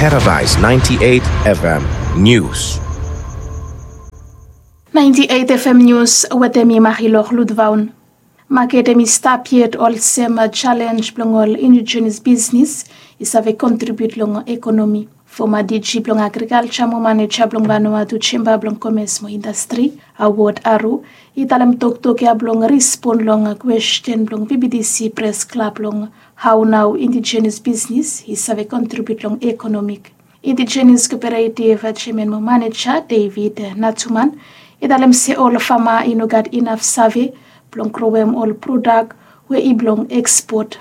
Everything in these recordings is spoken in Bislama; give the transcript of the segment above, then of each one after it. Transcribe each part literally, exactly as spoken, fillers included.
Paradise ninety-eight F M News. Ninety-eight F M News wetem mi Marilor Ludvaun. Maket hemi stap yet olsem jalenj blong ol indigenous bisnis i save kontribiut long ekonomi. Foma D G blong agrikalja mo maneja blong Vanuatu Jemba blong Komes mo Indastri, Awod Aru, i talem toktok ya blong rispon long kwesten blong V B T C pres klab long hao nao indigenous bisnis i save kontribiut long ekonomik. Indigenous Koperetiv jeaman mo maneja David Natuman i talem se ol fama i no gat inaf save blong growem ol prodak we i blong ekspot.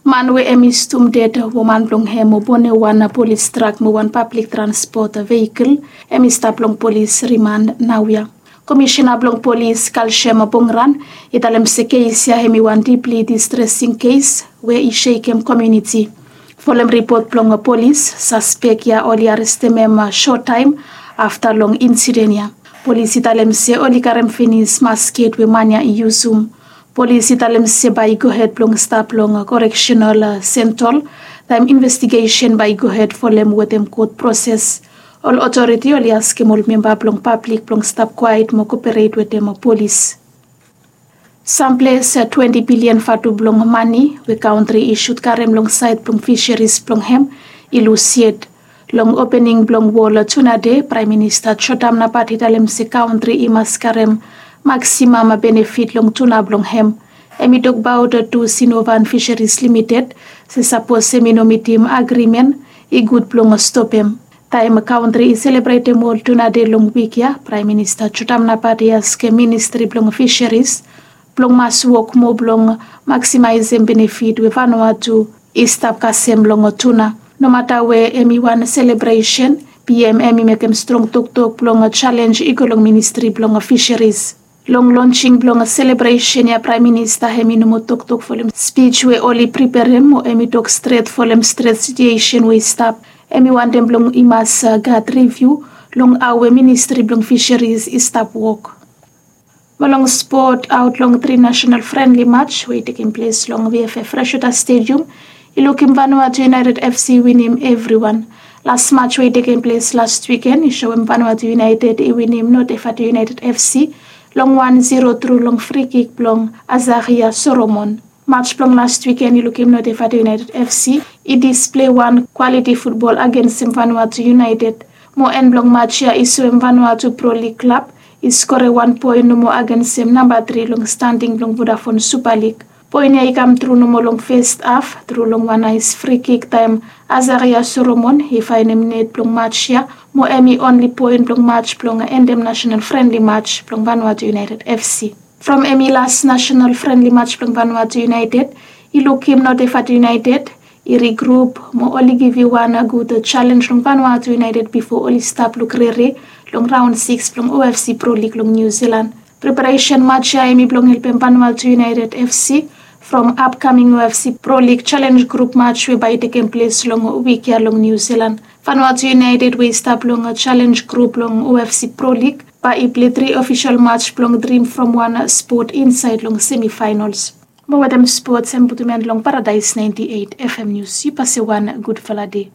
Man we hemi stum ded woman blong hem mo bonem wan polis trak mo wan pablik transpot vehikel, hemi stap long polis rimand naoia. Komisena blong polis Kalsem Bongran i talem se kes ya hemi wan dipli distresing kes we i sekem komuniti. Folem ripot blong polis, saspek ya oli arestem hem sot taem afta long insiden ya. Polis i talem se oli karem finis masket we man ya i yusum. Polis i talem se bae i gohed blong stap long koreksenal sentol taem investigesen bae i gohed folem wetem kot proses. Ol otoriti oli askem ol memba blong pablik blong stap kwaet mo koperet wetem polis. Samples twenti bilian vatu blong mane we kantri i sud karem long saed blong fiseris blong hem i lus yet. Long opening blong wol tuna dei, Praem Minista Jotam Napat i talem se kantri i mas karem maksimam benefit long tuna blong hem. Hemi tokbaot tu Sinovan Fisheries Limited se sapos hemi no mitim agrimen, i gud blong stopem. Taem kantri i selebretem wol tuna dei long wik ya, Praem Minista Jotam Napat i askem ministri blong fiseris blong mas wok moa blong maksimaesem benefit we Vanuatu i stap kasem long tuna. Nomata we hemi wan selebresen, P M hemi mekem strong toktok blong jalenj i go long ministri blong fiseris. Long lonsing blong selebresen ya, Praem Minista hemi no moa toktok folem spij we oli preperem mo hemi tok stret folem stret situesen we i stap. Hemi wantem blong i mas gat riviu long hao we ministri blong fiseris i stap wok. Mo long spot, aot long tri nasenal frenli maj we i tekem ples long V F F Freshwater Stadium, i lukim Vanuatu United F C winim evriwan. Las maj we i tekem ples las wiken i soem Vanuatu United i winim Notevatu United F C long wan zero tru long frikik blong Azaria Solomon. Maj blong las wiken i lukim Notevatu United F C i displei wan kwaliti futbol agensem Vanuatu United. Mo en blong maj ya i soem Vanuatu Pro League klab i skorem wan poen nomo agensem namba tri long standing blong Vodafone Super League. Poen ya i kam tru nomo long fes haf tru long wan naes frikik taem Azaria Solomon i faenem net blong maj ya, mo hemi onli poen blong maj blong endem nasenal frenli maj blong Vanuatu United F C. From hemi las nasenal frenli maj blong Vanuatu United, i lukim Notevatu United i rigrup mo oli givim wan gud jalenj long Vanuatu United bifo oli stap luk rere long raon sikis blong O F C Pro League long Niu Silan. Preparesen maj ya hemi blong helpem Vanuatu United F C from apkaming O F C Pro League jalenj grup maj we bae i tekem ples long wik ya long Niu Silan. Vanuatu United we i stap long jalenj grup blong O F C Pro League bae i plei tri ofisol maj blong Dream from One spot insaed long semifaenols. Mo wetem spots hemi putum en long Paradise ninety-eight F M News. Yu pase wan gudfala dei.